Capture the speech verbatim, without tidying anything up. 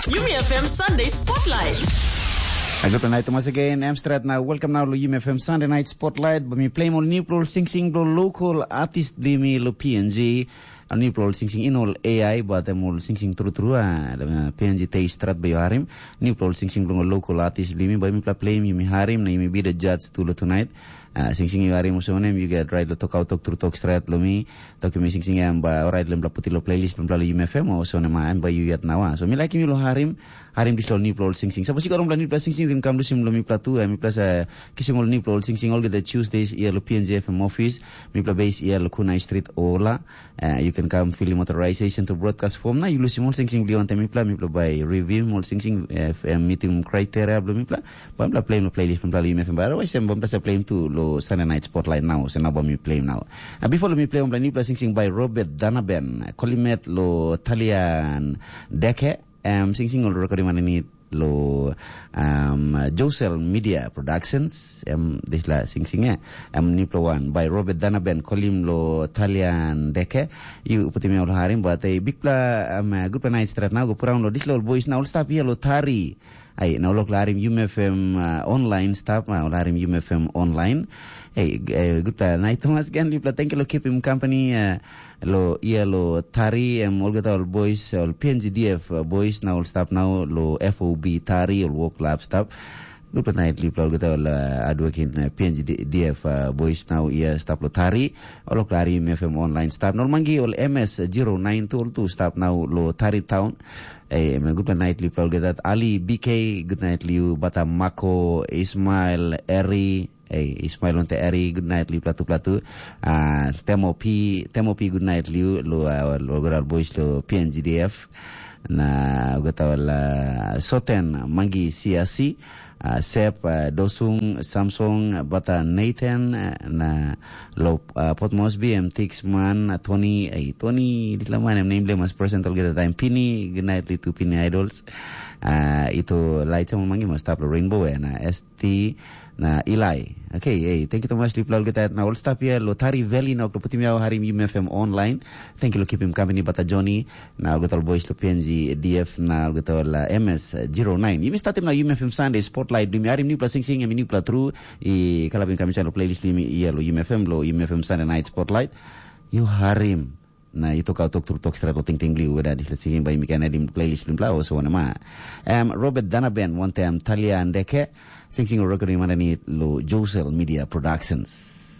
Yumi F M Sunday Spotlight. Good night, Thomas again. Em stret na welcome now lo Yumi F M Sunday Night Spotlight. Ba mi play mo new pro singsing blo local artist bli mi lo P N G. A new pro singsing in all A I, but em all singsing tru tru. Ah, P N G taste stret ba yo harim. New pro singsing blo local artist bli mi, ba mi pla play mi harim na mi be the judge tu lo tonight. Ah, singsing yu harim olsem wanem, yu get right lo tok autok tru tok stret lo mi. Tok mi singsing em ba orait lem bla puti lo playlist bla lo Yumi F M olsem wanem, em ba yu yet nawa. So mi like mi lo harim, harim dis lo new pro singsing. Suppose yu got on bla new pro singsing, you can come lusim lo mi pla tu. Mi plus uh, kisim ol new pro singsing all the Tuesdays ia lo P N G F M office. Mi pla base ia lo Kunai Street Ola. Uh, you can come fill him authorization to broadcast form. Na yu lusim ol singsing bli on time mi pla, mi pla by review ol singsing uh, meeting criteria bla mi pla. Ba mi pla play lo playlist bla lo Yumi F M. Ba otherwise em ba mi pla play tu lo Sunday Night Spotlight now. So now ba mi play now. Uh, before lo mi play on bla new pro singsing by Robert Danaben. Kolimet lo Talian Deke. Um, singsing ol recording man ni lo um, Josel Media Productions. Um, this la singsing eh. Um, new pro one by Robert Danaben, kolim lo Talian Deke. Yu putim ol harim, but a big pla um, uh, good night stret now. Go put on lo this lo boys now. Stop here lo Tari. Ai, na ol harim Yumi F M uh, online stop, uh, ol harim Yumi F M online. Hey, uh, good night Thomas again. Lipla, thank you lo keep him company. Uh, lo ia lo Tari em olgeta ol boys, ol P N G D F uh, boys na ol stap nau lo F O B Tari, ol work lab stap. Good night lipla olgeta ol uh, hardworking uh, P N G D F uh, boys nau ia stap lo Tari. Ol klari M F M online stap. Nol mangi ol M S zero nine tu ol tu stap nau lo Tari town. Eh, em good night lipla olgeta, Ali B K, good night liu, bata Mako, Ismail, Eri, Ei, Ismail onte Eri, good night liu platu platu. Ah, Temo P, Temo P, good night liu lo uh, lo gora boys lo P N G D F. Na gota la Soten, Mangi C R C, uh, Sep, uh, Dosung, Samsung, bata Nathan, uh, na lo uh, Port Moresby, M Tixman, uh, Tony, ei, Tony, ditla man em name le mas present olgeta time. Pini, good night liu tu Pini Idols. Uh, itu lai temo mangi mas tap lo Rainbow, eh, na S T, na Eli. Okay, hey, thank you so much lipla olgeta na ol staff here lo Tari Valley na oklo putim yau harim Yumi F M online. Thank you lo keeping company bata Johnny na olgeta ol boys lo P N G D F na olgeta ol uh, M S zero nine. Yumi startim na Yumi F M Sunday Spotlight. Dumi harim new pla sing sing em new pla tru. I kalabim kami lo playlist dumi ia lo Yumi F M lo Yumi F M Sunday Night Spotlight. You harim. Na i tokaut tok tru tok stret lo tingting bliu weda dispela singing bai mi ken edim playlist blimpla o so wana ma. Em Robert Danaben wantem Talia Andeke, sing sing record i manani lo Josel Media Productions.